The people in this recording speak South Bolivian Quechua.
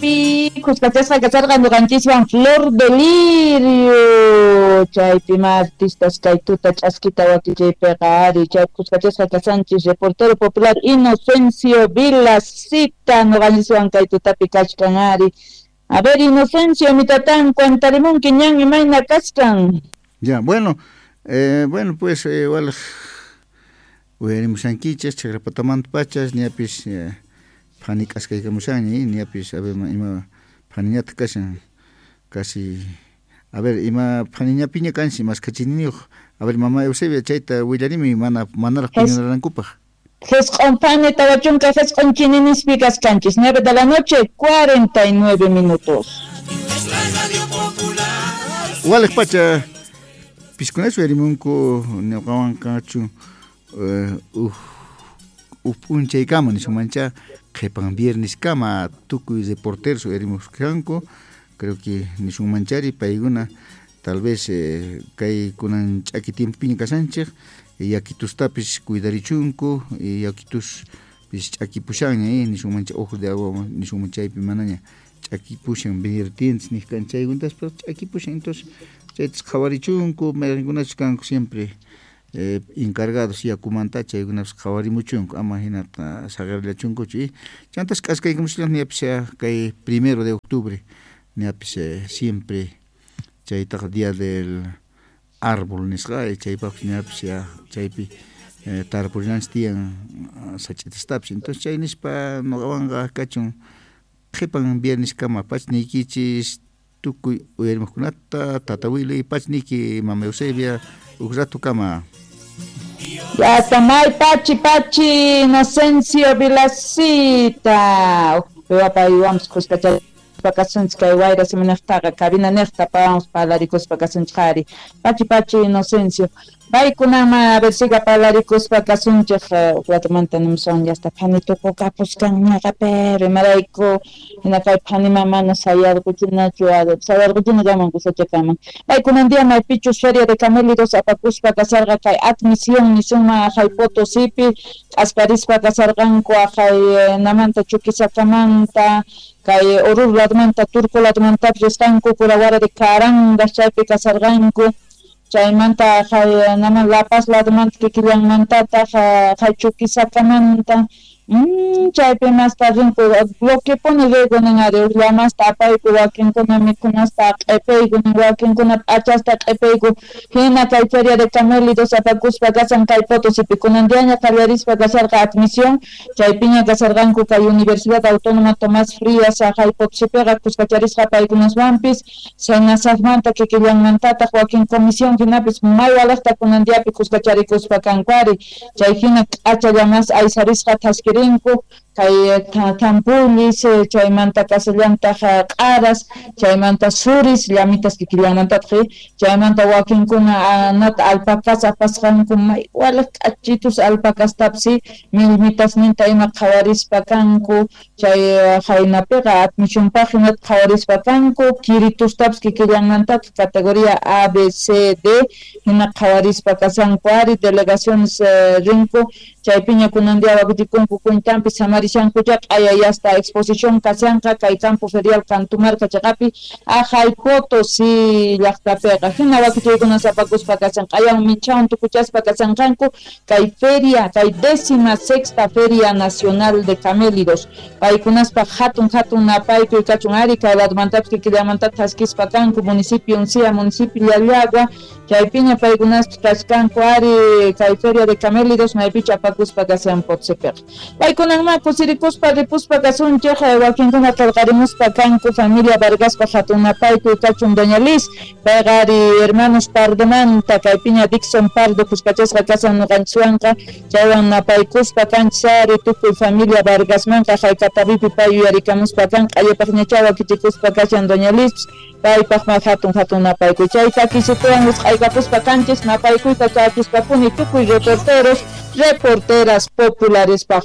Chaypi khuskachasqa kasarqa ñuqanchiswan Flor de Lirio, chaypi ma artistas kay tuta ch'askita wakichaypiqa ari chay khuskachasqa kasanchis reportero popular Inocencio Vilacita ñuqanchiswan kay tutapi kachkan ari. A ver, Inocencio, mi tatán, cuentarimunki ñan imayna kachkan. Ya, bueno, bueno pues walej uyarimushankichis chakrapatamanta pachas ñapis phani k'askaykamushanña ñapis a ver ima phaniñataq kashan casi a ver ima phaniñapiña kanchis maskhachiyniyuq a ver mama Eusebia chayta willarimi mana manaraq puñunarankupaq. Jesq'on phani 49 chininispi kaskanchis 9 de la noche 49 minutos. Walej pacha piskunachu uyarimunku ñuqawan kachu uj p'unchaykama nisumancha qhipan viernes kama tukuy reporteros uyarimusqanku creo que nisunmanchari paykuna tal vez kay kunan ch'aki tiempopiña kashanchik yakitustapis cuidarichunku yakituspis ch'akipushanña nisunmancha ojo de agua nisunman chaypi manaña ch'akipushan vertientes niqkan chaykuntaspas ch'akipushan entonces chaytas qhawarichunku mayqinkunachus kanku siempre encargados yakumanta chaykunapas qhawarimuchunku ama hinata saqirllachunkuchu chantas k'askaykamushallaq ñapis kay 1 de octubre ñapis siempre chaytaqa día del árbol nisqa chaypaqpis ñapis ya chaypi tarpurinanchis tiyan sach'itastapis entonces chay nispa ñuqawanqa kachun qhipan viernes kama pachniykichis tukuy uyarimuqkunata tata Willy pachniyki mama Eusebia uj rato kama. Ya tamay pachi pachi Inocencio Vilacita paywanpis khuskachaspa kasunchik kay wayra siminaqtaqa cabina niqta paywanpis parlarikuspa kasunchik ari pachi pachi Inocencio paykunama a ver siga parlarikuspa kasunchik uj ratomanta nimusun ya hasta phani tukukapuskanñaqa pero imarayku hina kay phanima mana sayarquchinachu sayarquchina kaman kusachakaman paykunan día maypichus feria de camélidos apakuspa kasarqa kay admisión nisunman aqhay Potosipi q'asparispa kasarqanku aqhay namanta Chuquisakamanta kay Oruro ladmanta Turco ladmantapis risqanku Curahuara de Carangas chaypi kasarqanku chaymanta aqhay naman La Paz ladmanta kikillanmantataq aqhay Chuquisakamanta chaypi masta rinku bloquepuni riku nin ari uj llamasta apayku wakinkuna mikhunasta q'ipayku nin wakinkuna p'achasta q'ipayku hina kay feria de camélidos apakuspa kasan kay Potosipi kunan diaña qallarispa kasarqa admisión chaypiña kasarqanku kay Universidad Autónoma Tomás Frías aqhay Potosipiqa khuskacharisqa paykunaswanpis Senasajmanta kikillanmantataq wakin comisión hinapis may walejta kunan diapi khuskacharikuspa kanku ari chay hina k'acha llamas aysarisqa thaskirinku kay tampullis chaymanta kasallantaq q'aras chaymanta suris llamitas kikillanmantataq chaymanta wakinkuna nata alpacas apasqanku may walej k'achitus alpacastapis millmitasninta ima qhawarispa kanku chay haynapiqa admisionpaq hinata qhawarispa kanku kiritustapis kikillanmantataq categoría A, B, C, D hina qhawarispa kasanku ari delegaciones rinku chaypiña kunan día wakichikunku cuentanpi samarishankucha q'ayayasta exposición kashanqa kay campo ferial Cantumarca chaqapi aqhay Potosí llaqtapiqa hina wakichiykuna sapakuspa kashan q'ayan michawan tukuchaspa kashanqanku kay feria kay 16ª Feria Nacional de Camélidos paykunaspa hatun hatun napaykuy kachun ari kay ladmantapis kikillamanta thaskispa kanku municipio Uncía municipio Llallagua chaypiña paykunaspa kachkanku ari kay feria de camélidos maypicha apakuspa kashan Potosipiqa paykunanma kusirikuspa ripuspa kasunchik wakinkuna qillqarimuspa kanku familia Vargaspa hatun napaykuy kachun doña Liz payqa ari hermanos Pardomanta kaypiña Dixon Pardo khuskachasqa kasan ñuqanchiswanqa chaywan napaykuspa kanchis ari tukuy familia Vargasmanqa haykatapipi pay yuyarikamuspa kan q'allapaqñacha wakichikuspa kashan doña Liz paypaqma hatun hatun napaykuy chay takisituwan wisq'aykapuspa kanchis napaykuyta chakispapuni tukuy reporteros reporteras populares.